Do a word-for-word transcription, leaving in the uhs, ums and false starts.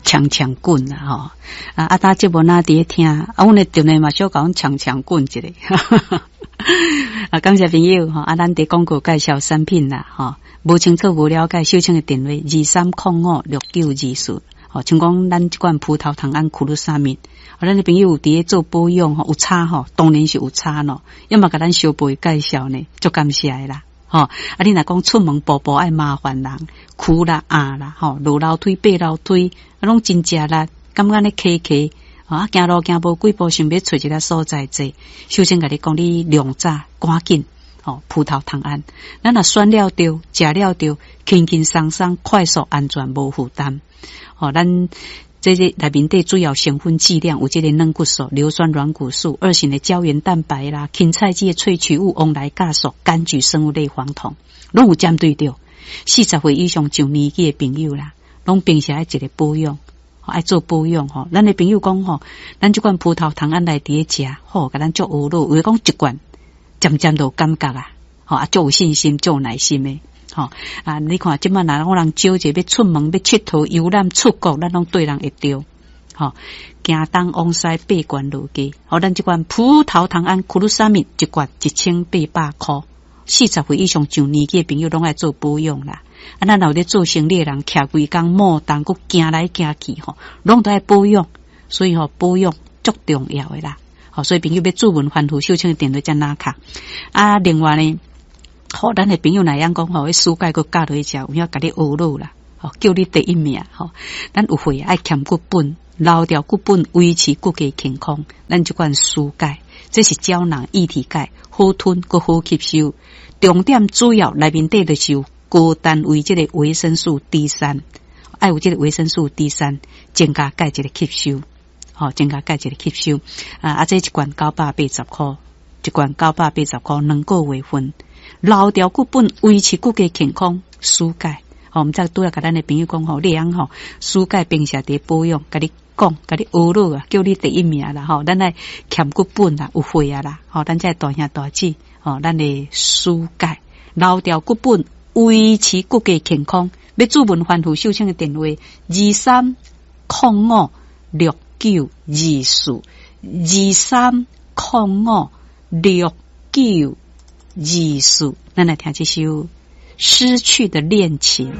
強強滾啦吼。啊，啊，搭節目若佇咧聽，啊，阮的電話嘛小共阮強強滾一下。啊，感謝朋友吼，啊，咱佇廣告介紹產品啦，吼，無清楚無了解，秀清的電話二三空五六九二四，吼，像講咱這罐葡萄糖胺 glucosamine，啊，咱的朋友有佇咧做保養吼，有差吼，當然是有差咯，要麼共咱小輩介紹呢，足感謝的啦。吼，啊！你若講出門步步愛麻煩人，跍啦、壓啦，吼，落樓梯、爬樓梯，啊，攏真食力，感覺按呢磕磕，啊，行路行無幾步，想欲揣一个所在坐。首先共你講，你量早趕緊，吼，葡萄糖胺，咱若選了著，食了著，輕輕鬆鬆，快速、安全，無負擔。吼，咱這個內面底主要成分劑量有這個軟骨素、硫酸軟骨素、二型的膠原蛋白啦、芹菜籽的萃取物、黃來酵素、柑橘生物類黃酮，攏有針對著。四十歲以上上年紀的朋友啦，攏平時愛一個保養，愛做保養吼。咱的朋友講吼，咱這罐葡萄糖胺來佇咧食，吼，共咱足學咯。有的講一罐，漸漸就有感覺啊，吼啊，足有信心，足有耐心的。吼啊！你看，這擺若有人招一個欲出門欲𨑨迌遊覽出國，咱攏對人會著。吼，行東往西爬懸落低。吼，咱這罐葡萄糖胺 glucosamine 一罐一千八百箍，四十歲以上上年紀的朋友攏愛做保養啦。啊，咱若有咧做生理的人，徛規工摩動，閣行來行去吼，攏都愛保養。所以吼，保養足重要的啦。吼，所以朋友欲注文反覆秀清的電話才拿卡。啊，另外呢，吼，咱的朋友若會曉講吼，彼舒鈣閣加落去食，有影共你學落啦，吼，叫你第一名吼。咱有血愛欠骨本，留牢骨本，維持骨骼健康。咱這款舒鈣，這是膠囊液體鈣，好吞閣好吸收。重點主要內面底就是有高單位這個維生素 D 三，愛有這個維生素 D 三，增加鈣一個吸收，吼，增加鈣一個吸收。啊啊，這一罐九百八十箍，一罐九百八十箍，兩個月份。留牢骨本，維持骨骼健康，舒鈣。吼，毋知拄仔共咱的朋友講吼，你會曉吼，舒鈣平時佇保養，共你講，共你學落啊，叫你第一名啦吼。咱愛欠骨本啦，有血啊啦，吼，咱這大兄大姊，吼，咱的舒鈣留牢骨本，維持骨骼健康。欲注文反覆秀清的電話：二三空五六九二四，二三空五六九二四，咱來聽這首《失去的戀情》。